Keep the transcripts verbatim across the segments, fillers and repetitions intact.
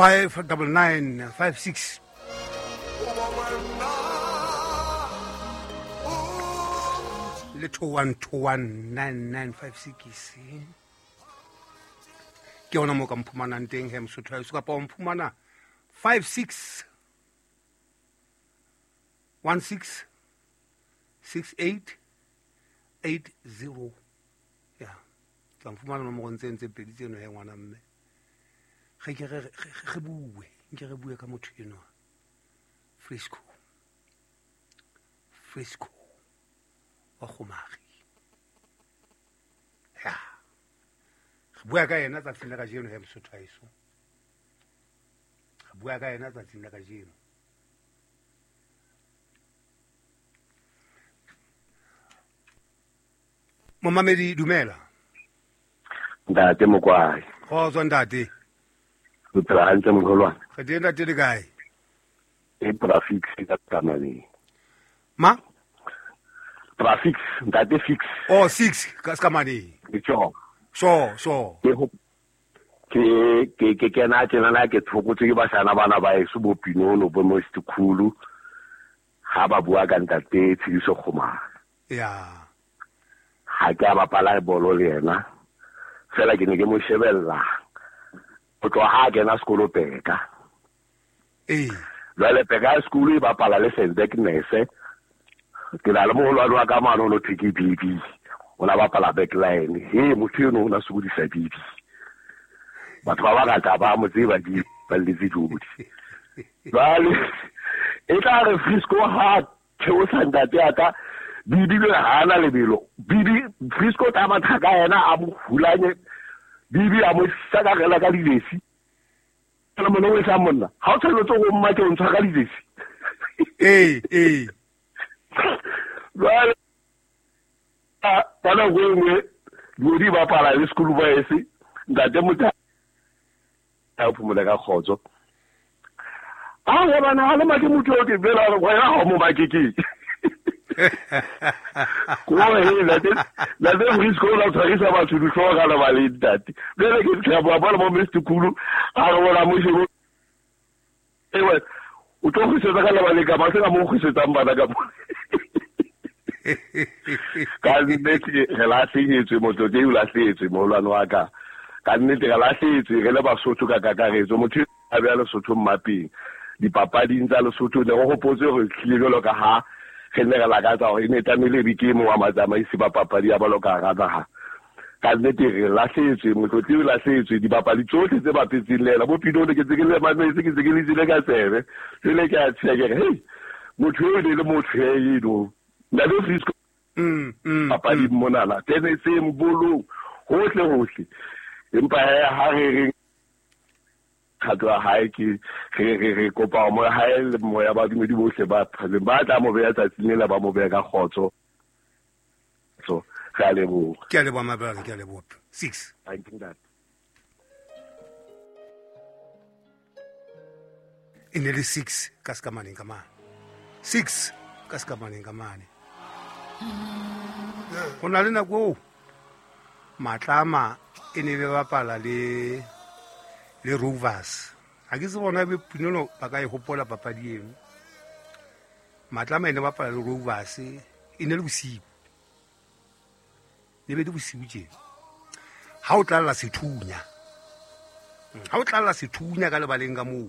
Five double nine five six. Le two one two one nine nine five six. Ke ona mo ka mphumanang teng he Mosotho wa heso, kapa o mphumana five six one six six eight eight zero. Ya tla mfumana nomorong tse ntse pedi tseno he ngwana mme. Ge ke re re bue, nke re bue ka motho enwa. Frisco. Frisco wa Kgomari. Ya. Re bua ka yena tsatsing la kajeno he Mosotho wa heso. Re bua ka yena tsatsing la kajeno. Momamedi dumela. Ntate Mokwai. Kgotso ntate. O phela hantle moholwane. Re teng ntate le kae? E traffic ka tsamaneng. Ma? Traffic, ntate fix. Oh six ka skamaneng. Ke tjho. So so. Ke ho ke ke ke kena tjena ke thokotse ke bashana bana ba eso bo Pinono bo Mostikhulu ha ba bua ka ntate Tshidiso Kgomari. Ya. Ha ke a bapala bolo le yena. Fela ke ne ke mo shebella. Ho tloha ha kena sekolo Peka. Eh. Jwale Peka school e bapala le Sendeknese. Ke na le moholwane wa ka mane o no thwe ke B B. O la bapala backline. He motho eno o na sokodisa B B. Batho ba bangata ba mo tseba di ba letse jodi. Jwale e tla re Frisco ha theosa ntate ya ka B B le ha na lebelo. B B Frisco ta matha ka yena a mo hulanye. B B a mo sakarela ka dilesi. Kana mona o e sa monna. Ha o tshwanetse go mma ke o ntshwa ka dilesi. Eh eh. Jwale ka nako e nngwe di bapala le school boys ntate motho a phumula ka kgotso. A wa bana ha le make motho o ke bela re wena ha mo make ke. Ko he ntate ntate Frisco la tshwarisa batho dihlooho ka lebale ntate. Jwale ke tla bua bona mo Mister Khulu a re bona mo shebo. Ewe o tlo kgwisetsa ka lebale ka ba se ka mo kgwisetsang bana ka mo. Ka nnete re lahlehetswe motho o lahlehetswe moholwane wa ka. Ka nnete re lahlehetswe re le Basotho ka kakaretso. Motho a beha Lesotho mmapeng. Dipapading tsa Lesotho ne re hopotse hore tlile jwalo ka ha re ne re lakatsa hore e ne tlamehile be ke e mong wa matsamaisi ba papadi ya bolo ka hara naha. Ka nnete re lahlehetswe, motlotli o lahlehetswe, dibapadi tsohle tse bapetseng le yena. Bo Pinono ke tse ke le mametse, ke tse ke le tsile ka tsebe. Jwale ke a tsheha ke re, hei, motho eo ne le motho eno. Ntate Frisco mm mm papading monana, teneseng, bolong, hohle hohle. Empa he ha re reng kgato ya hae ke re re re kopa moya hae le moya ba badumedi bohle ba phatseng ba tla mo beha tsatsing lela ba mo beha ka kgotso. So re a leboha. Ke a leboha my brother, ke a leboha. Six. Thank you ntate. E ne le six ka sekamaneng ka mane. Six ka sekamaneng ka mane. Ho na le nako eo Matlama e ne be bapala le le Rovers. Ha ke se bona be Pinono ba ka e hopola papadi eno. Matlama e ne bapala le Rovers e ne le bosiu. Ne be le bosiu tje. Ha o tlalla sethunya. Ha o tlalla sethunya ka lebaleng ka moo.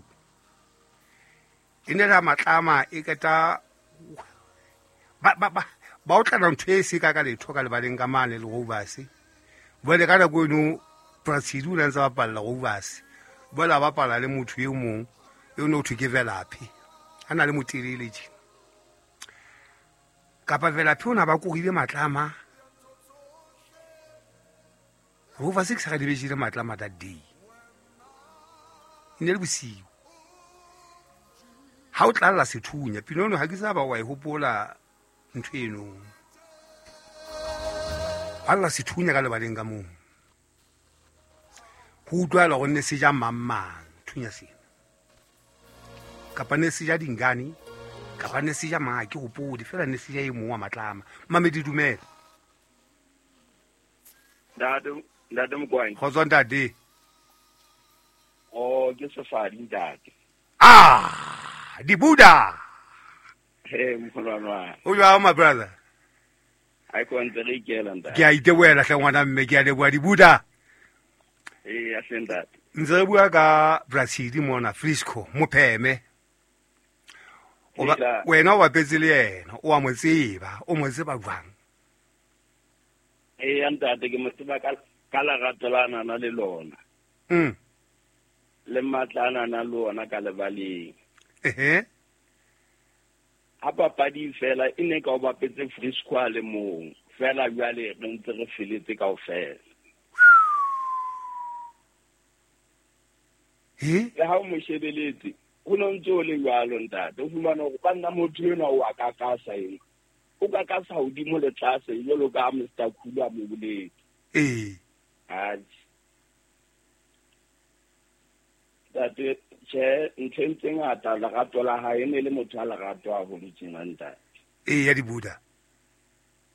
E ne la Matlama e keta ba ba ba ba o tlala ntho e se ka ka letho ka lebaleng ka mane le Rovers. Jwale ka nako eno Pratshidi o ne ntse bapalla Rovers. Jwale a bapala le motho e mong eo no thwe ke Velaphi. A na le motelele tje. Kapa Velaphi o na ba korile Matlama. Rovers ke sa di bejile Matlama that day. E ne le bosiu. Ha o tlalla sethunya Pinono ha ke sa ba wa e hopola ntho eno. Alla sethunya ka lebaleng ka moo. Ho utlwala hore ne se ja mang mang thunya sena. Kapa ne se ja dingane, kapa ne se ja mang ke hopole fela ne se ja e mong wa Matlama. Mamedi dumela. Ntate, ntate Mokwai. Kgotso ntate. Oh, Molao ke Sefadi ntate. Ah, di Buddha. Hey moholwane wa. O jwang my brother? Ha ke ntse re ikela ntate. Ke a itebohela hle ngwana mme, ke a leboha di Buddha. Eh, ya hle ntate. Ntse re bua ka Brazil mona Frisco Mopheme. O ba wena o bapetse le yena, o a mo tseba, o mo tseba jwang? Eh, ntate ke mo tseba ka ka lerato la nana le lona. Mm. Le matla a nana le ona ka lebaleng. Ehe. Ha papadi fela e ne ka o bapetse Frisco a le mong, fela jwale re ntse re feletse kaofela. He? Le ha o mo shebeletse, ho no ntse o le jwalo ntate, o fumana hore ba nna motho enwa o a kakasa ena. O kakasa hodimo le tlase jwalo ka Mister Khulu a mo boletse. Eh. Atjhe. Ntate, tjhe, ntlheng tse ngata lerato la hae e ne le motho a lerato haholo tjena ntate. Eh, ya di Buddha.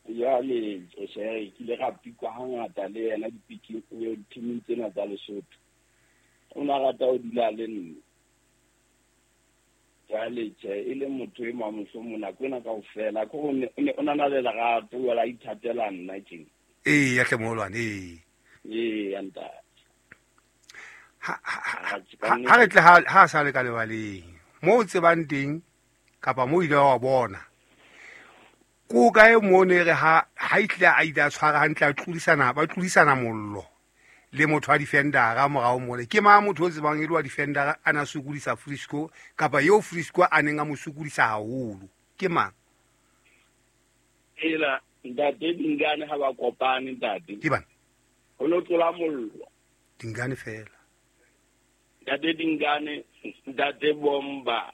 Jwale, tjhe, ke ile ra pikwa hangata le yena dipiking, dithiming tsena tsa Lesotho. O na rata ho dula le nna. Jwale, tjhe, e le motho e mong mohlomong nako ena kaofela, ke hore o ne o na le lerato, jwale a ithatela nna tjena. Eh, ya hle moholwane, eh. Eh, ya ntate. Ha ha re tle ha ha sa le ka lebaleng mo o tsebang teng kapa mo ile wa bona ko kae mo ne re ha ha itle a ile a tshwara hantle a tlodisana ba tlodisana mollo le motho wa defendera morao mole ke ma motho o tsebang e le wa defendera ana sokodisa Frisco kapa eo Frisco a neng a mo sokodisa haholo ke mang? Ela ntate Dingane ha ba kopane ntate ke bana ho no tlola mollo Dingane fela Ntate Dingane, ntate Bomba,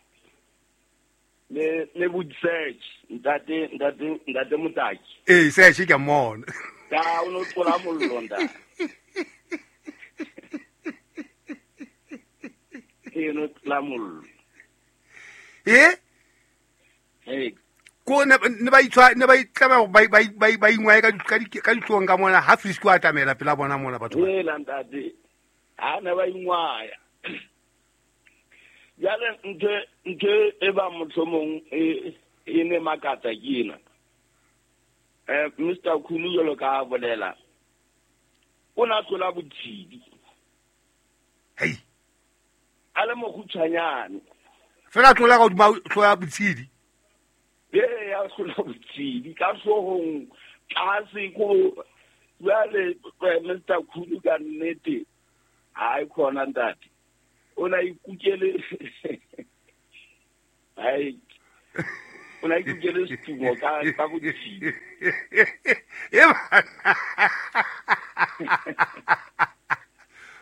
le le Wood Search, ntate ntate ntate Motaki. Eh, Search ke mona. Ka o no tlola mollo ntate. E no tlola mollo. Eh? Eh. Ko ne ne ba itswa ne ba itlama ba ba ba ba ingwae ka ka ka ditlong ka mona ha Frisco a tamela pela bona mona batho ba. Eh, ntate. Ha ne ba ingwaya. Jwale ntho ntho e ba mohlomong e e ne makatsa ke ena. Eh Mister Khulu jwalo ka bolela. O na tlola botshidi. Hey. A le mokgutshwanyane. Fela tlola ka hodima tlola botshidi. Ee, ya tlola botshidi ka hloohong tlase ko jwale Mister Khulu ka nnete. Hayi khona ntate. O na ikukele hayi o na ikukele setumo ka ka botshidi.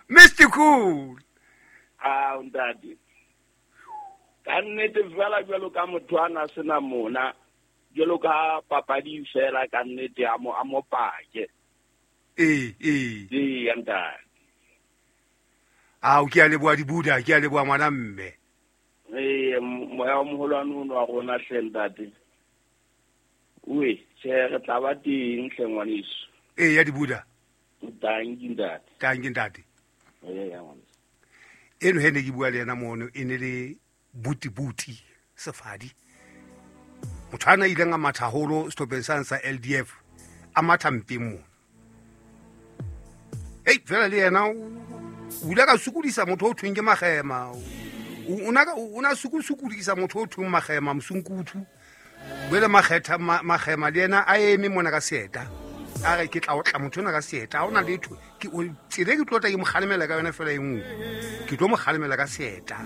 Mister Cool. Ah ntate. Ka nnete fela jwalo ka motho a na sena mona jwalo ka papadi fela ka nnete a mo a mo pake. Eh eh. Eh ntate. Ah, ke a leboha di Buddha, ke a leboha ngwana mme. Eh, moya wa moholwane ono wa rona hle ntate. Uwe, tjhe re tla ba teng hle ngwaneso. Eh, ya di Buddha. Tanki ntate. Tanki ntate. Eh, ya ngwaneso. Eno he ne ke bua le yena mono e ne le buti buti Sefadi. Motho ana ileng a matha haholo sehlopheng sa sa L D F a matha mpeng mono. Ei, fela le yena o ile ka sokodisa motho o thweng ke Magema. O na o na sokodisa motho o thweng Magema Msunkuthu. Bele Magetha Magema le yena a eme mona ka seeta. A re ke tla o tla motho ona ka seeta. Ha ona letho. Ke o tsele ke tlo tla ke mo kgalemela ka yona fela e nngwe. Ke tlo mo kgalemela ka seeta.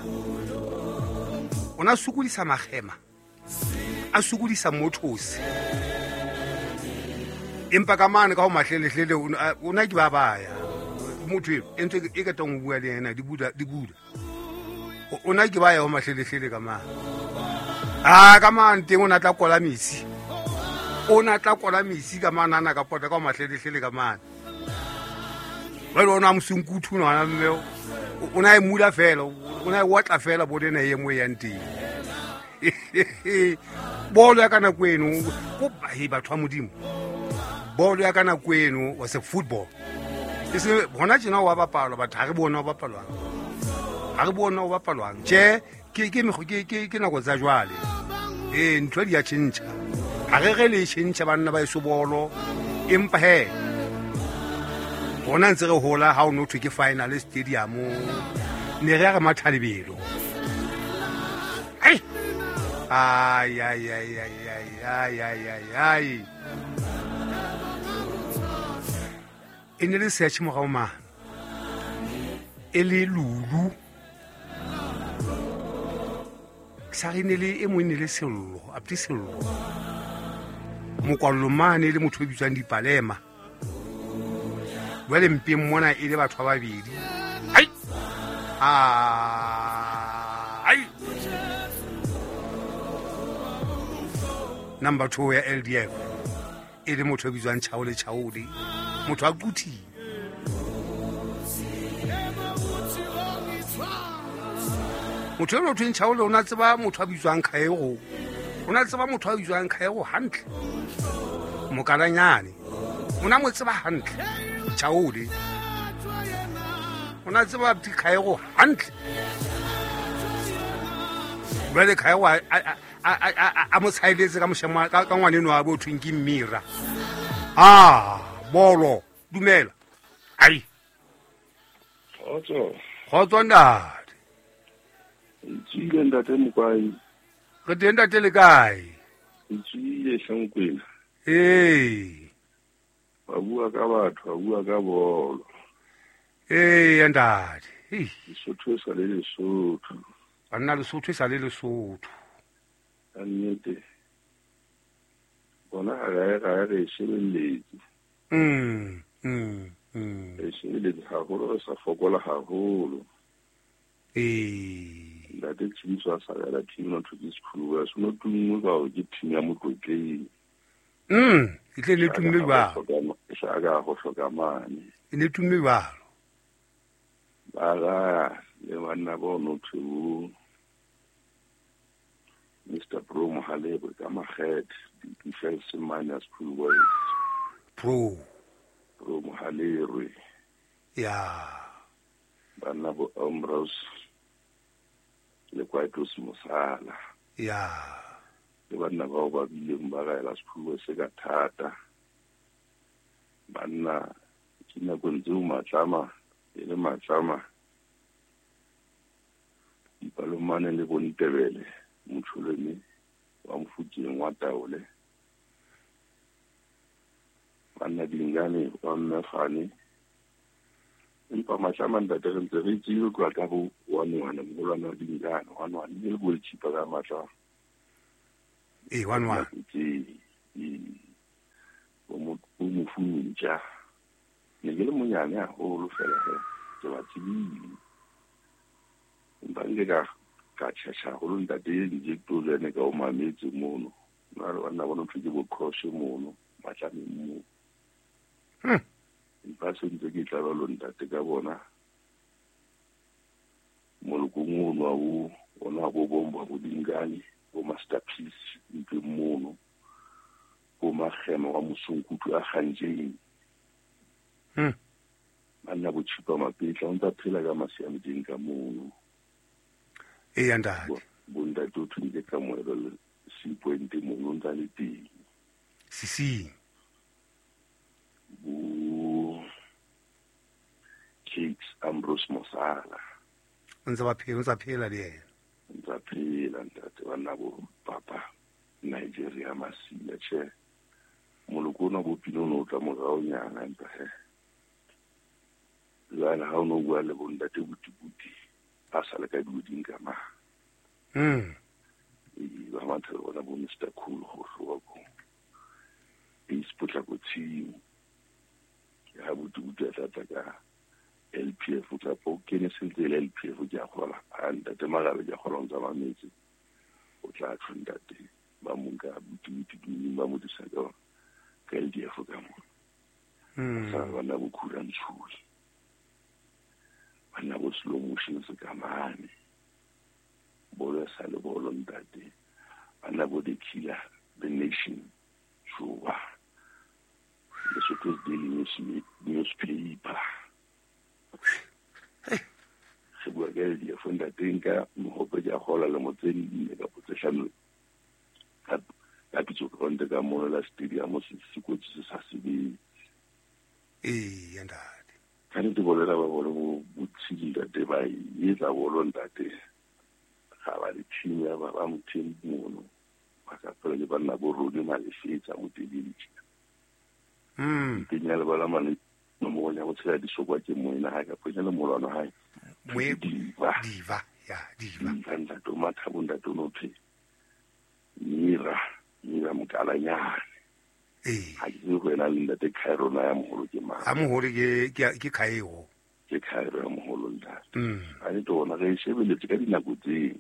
O na sokodisa Magema. A sokodisa mothosi. Empa ka mane ka ho mahlelehlele o na ke ba baya. Motho e ntse e ka tong bua le yena di Buddha di Buddha. O na ke ba ya ho mahlelehlele ka mane. Ah ka mane teng o na tla kola metsi. O na tla kola metsi ka mane ana ka pota ka ho mahlelehlele ka mane. Jwale o na Msunkuthu ngwana mme o na e mula fela, o na e watla fela bo lena e nngwe yang teng. Bolo ya ka nako eno ko he batho ba Modimo. Bolo ya ka nako eno was a football. E se hona tjena wa bapalwa batho ha re bone wa bapalwang. Ga re bone o bapalwang. Tjhe, ke ke ke ke ke nako tsa jwale. Ee, ntho di a tjhentjha. Ha re re le tjhentjha banna ba eso bolo. Empa he rona ntse re hola ha o no thwe ke final stadium. Ne re ya re matha lebelo. Ai. Ai ai ai ai ai ai ai ai. E ne le search morao mane. E le Lulu. Sa re ne le e mong ne le Sello, apti Sello. Mokwallo mane le motho o bitswang Dipalema. Jwale mpeng mona e le batho ba babedi. Ai. Ai. Number two ya L D F. E le motho o bitswang Chaole Chaole. Motho a kuthi. Motho eno thweng Chaole o na tseba motho a bitswang Khaego. O na tseba motho a bitswang Khaego hantle. Mokalanyane. O na mo tseba hantle. Chaole. O na tseba Khaego hantle. Jwale Khaego a a a mo tshaeletse ka moshema ka ngwane eno a bo thweng ke Mmira. Ah, bolo, dumela. Ai. Kgotso. Kgotso ntate. Tswile ntate Mokwai. Re teng ntate le kae? Tswile Hlankwena. Ee. Ba bua ka batho, ba bua ka bolo. Ee ntate. Ei, Lesotho e sa le Lesotho. Banna Lesotho e sa le Lesotho. Ka nnete. Bona ga re ga re shebelletse. Mm, mm, mm. Re shebelletse haholo, re sa fokola haholo. Ee. Ntate Tshimiso a sa rela team no to this crew a sono tumme ka hore ke team ya Motlotleng. Mm, e tle le tumme jwalo. E sa ka go hloka mane. E ne tumme jwalo. Ba ra le banna bo no to Mister Pro Mohalebo ka Makgethe, defense minus crew boys. Pro Pro Mohalerwe. Ya. Banna bo Ambrose le Kwaitos Mosala. Ya. Le banna bao ba bileng ba gaela sephuo se ka thata. Banna ke nakong tseo matlama e le matlama dipalomane le bontebele motholeme wa Mofokeng wa Taole. Banna Dingane wa Mmefane. Empa matlama ntate re ntse re tsile tloha ka bo one one moholwana wa Dingane one one e le goalkeeper ka matlama. Ee, one one. Ke bo mo bo mofuntja. Ne ke le monyane haholo fela he ke ba tsebile. Empa nke ka ka tjhetjha haholo ntate ntse ke tlo jene ka o mametse mono. Nna le banna bona ntho ke bo cross mono matlameng mo. Hmm. Empa se ntse ke tla ba ntate ka bona molokong ono wa bo ona bo bomba bo Dingane bo Masterpiece ntwe mono bo Makgema wa Mosonkutu a Kganjeng. Hmm. Banna bo Tshipa Mapetla o ntsa phela ka masiametseng ka mono. Ee ntate. Bo ntate o thweng ke ka moelo C point mono o ntsa le teng. Sising. Bo Cakes Ambrose Mosala. O ntse ba phela, o ntsa phela le yena. Ntsa phela ntate banna bo papa Nigeria Masia tjhe. Moloko ona bo pino no tla moraonyana empa he. Jwale ha o no bua le bo ntate Butibuti ba sa le ka duding ka ma. Mm. E ba matha bona bo Mister Cool go hloka ko. Peace potlako tshimo. Ke ha Butibuti a tla tla ka L P F tla po kene sentse le L P F ke a kgola. Ha ntate Magabe ke a kgola o ntsa mametse. O tla tjho ntate ba mo nka Butibuti dumeng ba mo disa ka ka L D F ka mo. Mm. Sa bana bo khura ntshuli. Banna bo slow motion se ka mane. Bolo sa le bolo ntate. Banna bo the killer, the nation. Shuwa. Lesotho's Daily News newspaper. Re bua ka L D F ntate nka mohope ke a kgola lemo tse nne kapa tse hlano ka ka pitso ground ka mono la stadium se se kotsi se sa sebetse. Ee ntate. Ka nnete bolo ena ba bolo bo botshidi ntate ba e etsa bolo ntate. Ga ba le team ya ba ba motheng mono. Ba ka phela le banna bo Rone Malefetsa motelele tjena. Mm. Teng ya lebala mane nomoro ya go tshela disokwa ke moena hae ka ponya le molwana hae. Moe Diva. Diva, ya Diva. Diva ntate o Mathabo ntate o no thwe Mira, Mira Mokalanyane. Ee. Ha ke tsebe ho ena le ntate Cairo na ya moholo ke mang. Ha moholo ke ke ke Cairo. Ke Cairo ya moholo ntate. Mm. Ha ne tona re shebeletse ka dinako tse.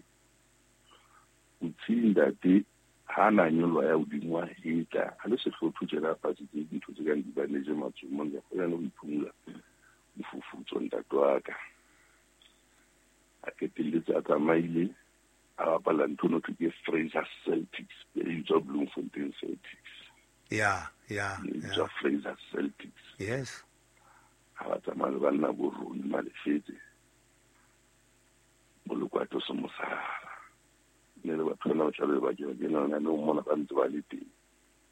Botshidi ntate ha na nyolwa ya hodimo wa hetla ha le sehlotho tjena fatshe tse dintho tse kang dibaneje matsomong ya go yana ho iphumula mofufutso ntate wa ka. A qetelletse a tsamaile a bapala ntho no thwe ke Fraser Celtics, e bitswa Bloemfontein Celtics. Ya, ya, E ya. bitswa Fraser Celtics. Yes. Ha ba tsamaya le banna bo Rone Malefetse. Bolokwato se mosala. Ne le batho bana ba tla be ba kena ke nana le mona ba ntse ba le teng.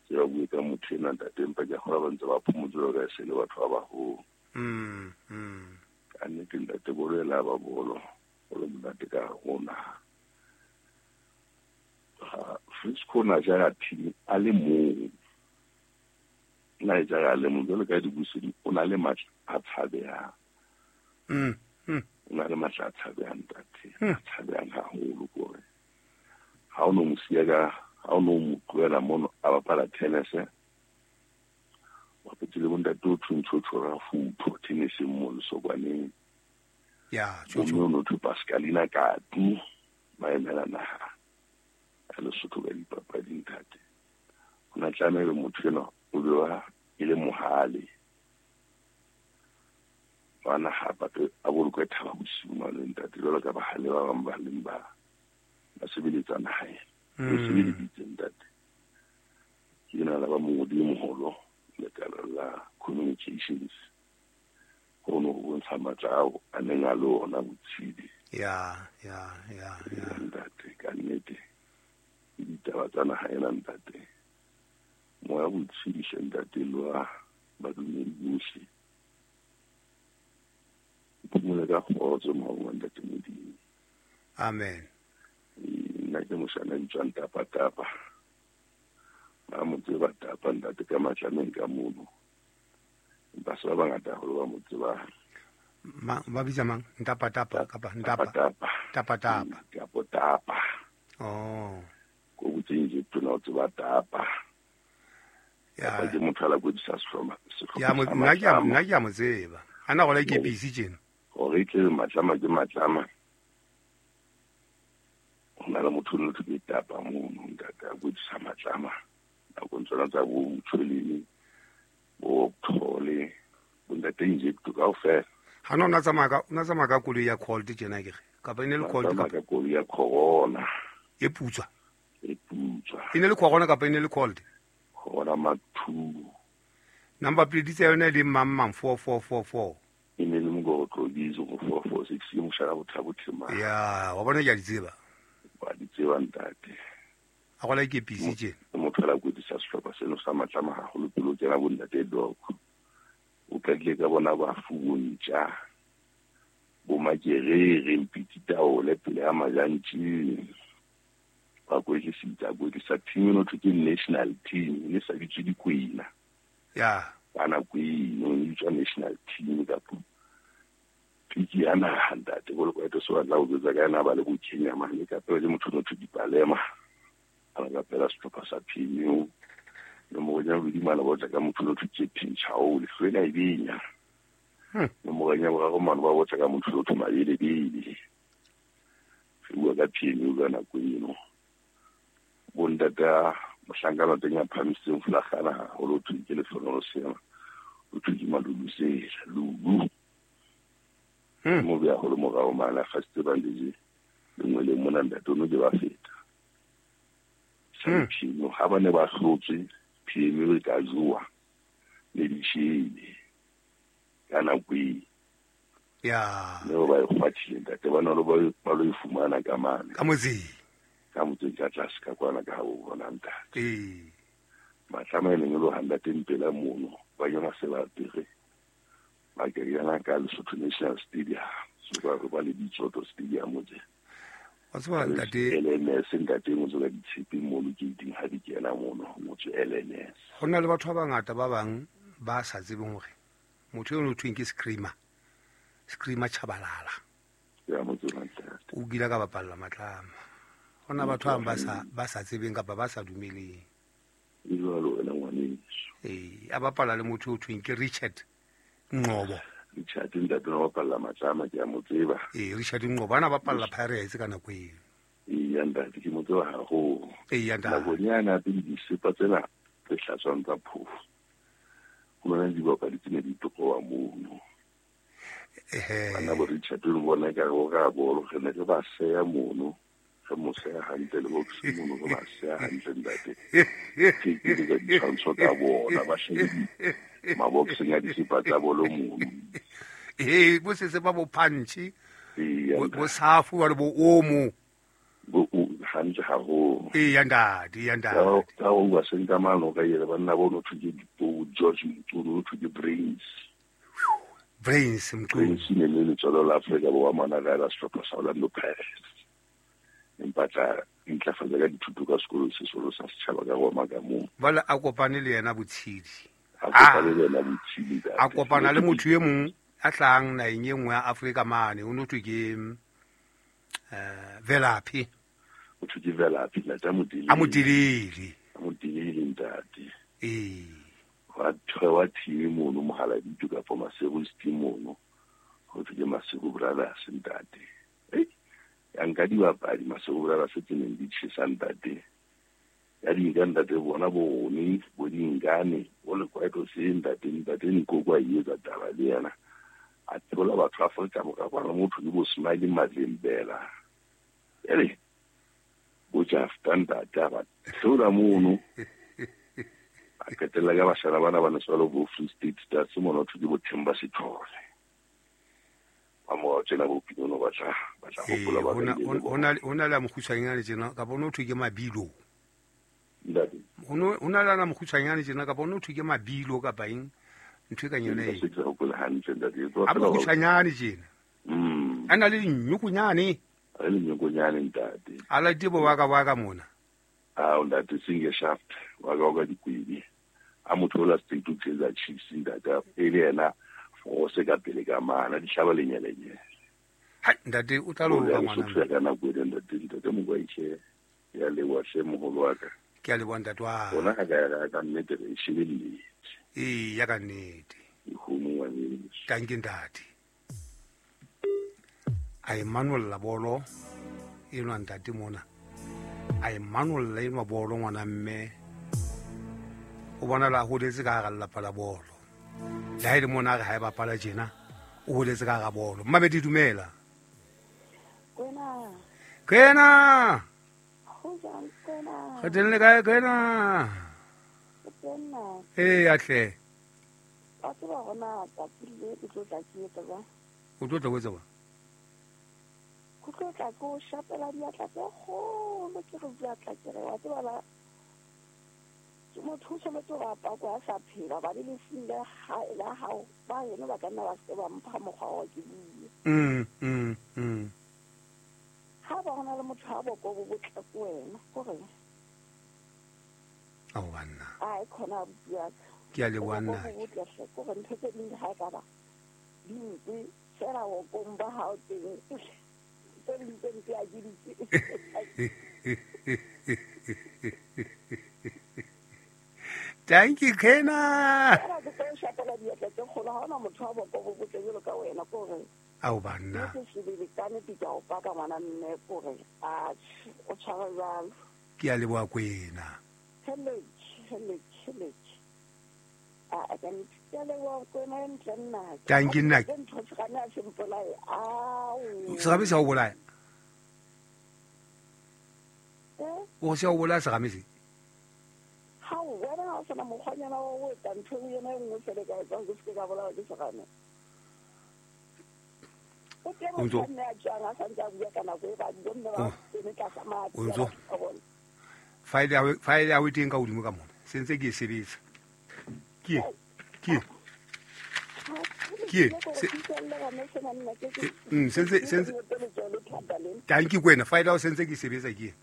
Ke ba bue ka motho ena ntate empa ke a kgolwa ba ntse ba phomotse jwalo ka e se le batho ba baholo. Mm, mm. Ka nnete ntate bolo ela ba bolo, bolo monate ka hare ho naha. Ha Frisco na jara team a le mong. Na e jara a le mong jwalo ka dibusedi o na le matla a tshabehang. Mm, mm. O na le matla a tshabehang ntate, Hmm. a tshabehang haholo ke hore ha o no mo siya ka, ha o no mo tlohela mono a bapala tennis, bapetse le bontate o thwe ntho tjho Rafutho tenniseng mono Sokwaneng. Ya, Bomme tjho. o no thwe Pascalina Katu, ba emela naha ya Lesotho ka dipapading ntate. Ho na tlameha motho enwa o be wa e le mohale. Wa naha a a bolokwe Thaba Bosiu mane ntate jwalo ka bahale ba bang ba leng ba ba sebeletsa naha ena. Mm. O sebeleditse ntate. Ke ena la ba mongodi e moholo lekala la communications. Ho no ho bontsha matla ao a neng a le ona botshidi. Ya, ya, ya, ya. Ntate, ka nnete. Ke ditaba tsa naha ena ntate. Moya botshidi hle ntate le wa badumedi bohle. Phomole ka kgotso moya wa ntate Modimo. Amen. Nna ke moshana bitswang Tapa Tapa. Ba mo tseba Tapa ntate ka matlameng ka mono. Empa se ba bangata haholo ba mo tsebang. Ma, ba bitsa mang? Ntapa Tapa kapa Ntapa? Tapa Tapa Tapa. Kapo Tapa. Oh. Ko botseng je tona o tseba Tapa. Ya. Tapa ke motho a la kwetlisa sehlopha, sehlopha Ya, mo, sa nna ke a, Matlama. nna ke a mo tseba. A na gola ke busy tjena. Hore e tle Matlama ke Matlama. Ho na le motho o thwe ke Tapa mono ntate a kwetlisa Matlama. Nakong tsona tsa bo Motshweleng, bo Thole, bo ntate Injecto kaofela. Ha no na tsamaya ka, o na tsamaya ka koloi ya Colt tjena ke re. Kapa e ne le Colt Tsamaya kapa ka koloi ya Corona. E putswa. E putswa. E ne le Corona kapa e ne le Colt? Corona Mark two. Number plate tsa yona e le mang mang four four four four. E ne le Mokotlo Bizo go four four six ke moshana bothabo Thema. Ya, wa bona ke a di tseba. Wa di tseba ntate. A gola ke busy tjena. Ke motho a la kwetlisa sehlopha seno sa Matlama haholo pele o kena bo ntate Doko. O qadile ka bona ba fubontja. Bo Makerere, Mpiti Taole pele ya Majantjing. Ba kwetlisitse, a kwetlisa team eno thwe ke national team, e ne sa bitswe Dikwena. Ya. Ka nako eno, e bitswa national team kapa piki ya naha ntate. Bolokwato se batla ho jwetsa ka ena ba le bo Kenya mane, ka pele ke motho o no thwe Dipalema. A ba pela sehlopha sa P M U. Nomoro ya bobedi mane ba otla ka motho o no thwe Captain Chao, lehlwela e benya. Hmm. Nomoro ya boraro mane ba otla ka motho o no thwe Mabelebele. Re bua ka P M U ka nako eno. Bo ntata mohlankana teng ya phahamisitseng folakgana haholo, ho thwe ke Lehlohonolo Seema, ho thwe ke Malulusela, Lulu. Hmm. Mo beha haholo morao mane, a fasitse bandage lengweleng mona ntate, o no ke ba feta. Sa Hmm. P M U, ha ba ne ba hlotswe, P M U e ka jowa le dishele ka nako eo. Ya. Ne ba e kgwathile ntate ba no ba ba lo fumana ka mane. Ka motseng. Ka motseng ka tlase ka kwana ka ho bona ntate. Eh. Matlama e leng lo handa teng pela mono ba yona se ba pere. Ba ke yana ka Lesotho National Stadium. So ba ba le Ditsoto Stadium motse. Wa tseba ntate L N S ntate motse ka ditshepe mono ke ding ha di kena mono motse L N S. Ho na le batho ba bangata ba bang ba sa tsebeng hore motho eno o thweng ke Screamer. Screamer Chabalala. Ya motse ntate. O kile ka bapalla Matlama. Ho na batho ba sa ba sa tsebeng kapa ba sa dumeleng. E jwalo wena ngwaneso. Eh, a bapala le motho o thweng ke Richard Ngqobo. Richard ntate o bapalla Matlama ke a mo tseba. Eh, Richard Ngqobo ana bapalla Pirates ka nako eo. Eh, ya ntate ke mo tseba haholo. Eh, ya ntate. Nakonyana pele disepa tsena tse hlatswang tsa phofo. Ho na le dibapadi tse ne di tokowa mono. Eh. Bana bo Richard le bona ka go ga bolo re ne re ba seya mono. Re mo seya hantle le box mono re ba seya hantle ntate. Ke ke di ditshwantsho ka bona ba shebile maboxeng a disepa tsa bolo mono. Eh, bo se se ba bo punch. Bo safu ba bo omo. Bo hantle haholo. Eh, ya ntate, ya ntate. Ka o ba senka mano ka yela banna bo no thwe ke bo George Motsono thwe ke Brains. Brains Motsono. Brains ne le letswalo la Afrika Borwa mona ka la sehlopha sa Orlando Pirates. Empa tla ntlafatsa ka dithuto ka sekolo se solo sa setjhaba ka Roma ka moo. Bala a kopane le yena Botshidi. A kopane le yena Botshidi. A kopana le motho e mong a tlang naheng e nngwe ya Afrika mane o no thwe ke eh Velaphi. O thwe ke Velaphi ntate a motelele. A motelele. A motelele ntate. Eh. Wa thwe wa team mono Mohaladito kapa Maseru team mono. Ho thwe ke Maseru Brothers ntate. Eh. Ya nka dibapadi Maseru Brothers tse neng di tjhesa ntate. Ya di nka ntate bona bo rone bo dingane bo le kwaito se ntate ntate Nkoko a etsa taba le yena. A thola batho Afrika Borwa kwana motho ke bo Smiley Madlembela. Ele bo Jafta ntate ba thola mono. A qetella ka bashana bana ba ne swalo bo Free State Stars mono thwe ke bo Themba Sithole. Ba mo tsena bo Pinono ba tla ba tla hopola ba hona hona la mokgutshwanyane tjena ka bona o thwe ke Mabilo. Ntate. Hono hona la mokgutshwanyane tjena ka bona o thwe ke Mabilo kapa eng ntho e ka yona e. Se ke hopola hantle ntate. A mokgutshwanyane tjena. Mm. A na le dinyokonyane. A le dinyokonyane ntate. A la tebo wa ka wa ka mona. Ah ntate singe shaft wa ka wa ka dikwebi. A motho la state to Kaizer Chiefs ntate e le yena force ka pele ka mana di hlaba lenyelenyele. Ha ntate o tla lo ka ngwana. Ka nako e ntate ntate Mokoaitjhe ya leboha hle moholo wa ka. Ke a leboha ntate wa. Bona ha ka ya ka nnete re shebelletse. Eh ya ka nnete. Ikgomo ngwaneso. Tanki ntate. A e manolla bolo enwa ntate mona. A e manolla enwa bolo ngwana mme. O bona la holetse ka hara lelapa la bolo. Le ha e le mona re ha e bapala tjena o holetse ka hara bolo. Mmamedi dumela. Kwena. Kwena. Ho jwang Kwena? Re teng le kae Kwena? Kwena. Eh atle. Wa tseba hona tsatsi le ke tlo tla ke etsa jwang? O tlo tla o etsa jwang? Ke tlo tla ke o shapela diatla tse kgolo ke re diatla ke re wa tseba la ke motho o tshwanetse hore a pakwe a sa phela hobane lefung la hae la hao ba heno ba ka nna ba se ba mpha mokgwa wa ke bue. Mm mm mm. Ha ba hona le motho a boko bo botle ko wena kore. Ao banna. Ai khona abuti ya ka. Ke a leboha nna. Bo botle hle kore ntho tse ding ha e ka ba di mpe fela bokong ba hao teng. Tse ding tse mpe a ke di tsebe. Thank you Kena. Fela ke tlo shapela diatla tse kgolo ha hona motho a boko bo botle jwalo ka wena kore. Ao banna. Ke sebele ka nnete ke a o paka ngwana mme kore a o tshware jwalo. Ke a leboha Kwena. Hello, hello, hello. A ka ke a leboha Kwena e ntle nna. Thank you nna. Ke ntho tse kana se mpolaye. Ao. Serame se a o bolaya? Eh? O se a o bolaya serame se? Ha o wena ha o sena mokgwanyana wa ho etsa ntho ena e nngwe fela e ka etsang ke se ke ka bolawa ke serame. O teng O ntso- mme a tswang a santse a bua ka nako e ba bomme ba Oh. eme tlasa matsi O ntso- File ya hao- file ya hao e teng ka hodimo ka mona. Se ntse ke e sebetsa. Ke e? Ke e? Ke e? Se- Eh, mm, se ntse- se ntse- Tanki kwena file ya hao se ntse ke e sebetsa ke e?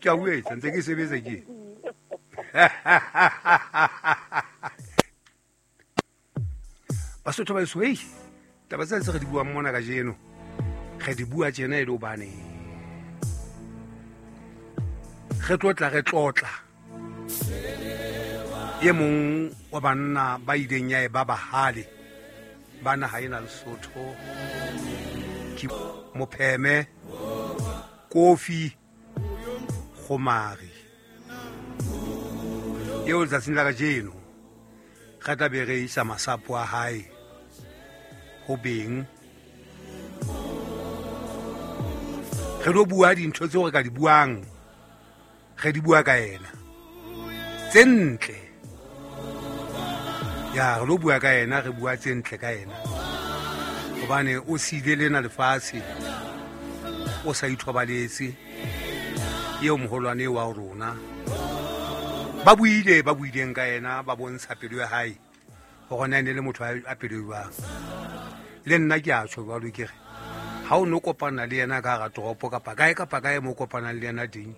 Ke a bua ntse ke e sebetsa ke e? Basotho ba heso, hei, taba tsena tse re di buang mona kajeno, re di bua tjena e le hobane re tlotla re tlotla e mong wa banna ba ileng ya e ba bahale ba naha ena Lesotho ke Mopheme Kofi Kgomari eo letsatsing la kajeno re tla be re isa masapo a hae ho beng re lo bua dintho tseo re ka di buang re di bua ka yena tse ntle ya re lo bua ka yena re bua tse ntle ka yena hobane o siile lena lefatshe o sa ithobaletse eo moholwane wa rona ba buile ba buileng ka yena ba bontsha pelo ya hae hore na e ne le motho a pelo jwang le nna ke a tjho jwalo ke re ha o no kopana le yena ka hara toropo kapa kae kapa kae mo kopanang le yena teng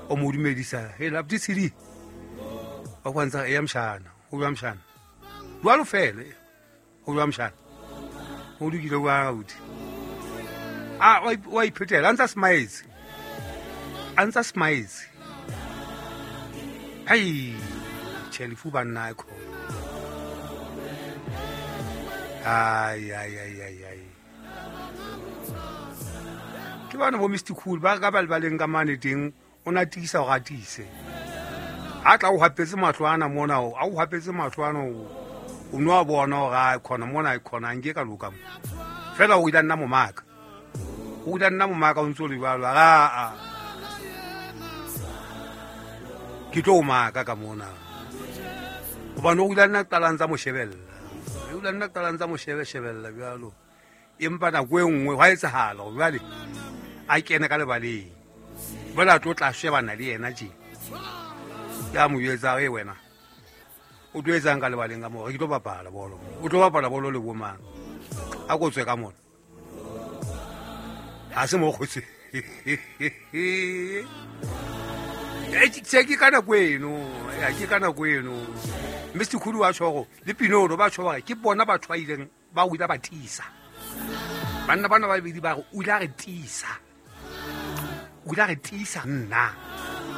o mo dumedisa he la btsidi ba kwanza ya mshana o jwa mshana jwalo fela o jwa mshana o dukile wa auti a wa iphetela a ntsa smiles a ntsa smiles ai tjhe lefu banna e khona ai ai ai ai ai ke bana bo Mister Cool ba ka ba lebaleng ka mane teng o na tiisa hore a tiise a tla o hapetse mahlo ana mona o a o hapetse mahlo ana o o no a bona hore a khona mona e khona nke ka loka mo fela o ile nna momaka o ile nna momaka o ntso le jwalo a a ke tlo o maka ka mona hobane o ile nna qala ntsa mo shebella o ile nna qala ntsa mo shebe shebella jwalo empa nako e nngwe hwa etsahala hore jwale a kene ka lebaleng jwale a tlo tla shebana le yena tje ya mo jwetsa e wena o tlo etsang ka lebaleng ka moo ke tlo bapala bolo o tlo bapala bolo le bo mang a ko tswe ka mona ha se mo kgotse e tse ke ka nako eno ya ke ka nako eno Mister Khulu wa tjho le Pinono ba tjho hore ke bona batho ba ileng ba o ile ba tiisa banna bana ba babedi ba re o ile a re tiisa o ile a re tiisa nna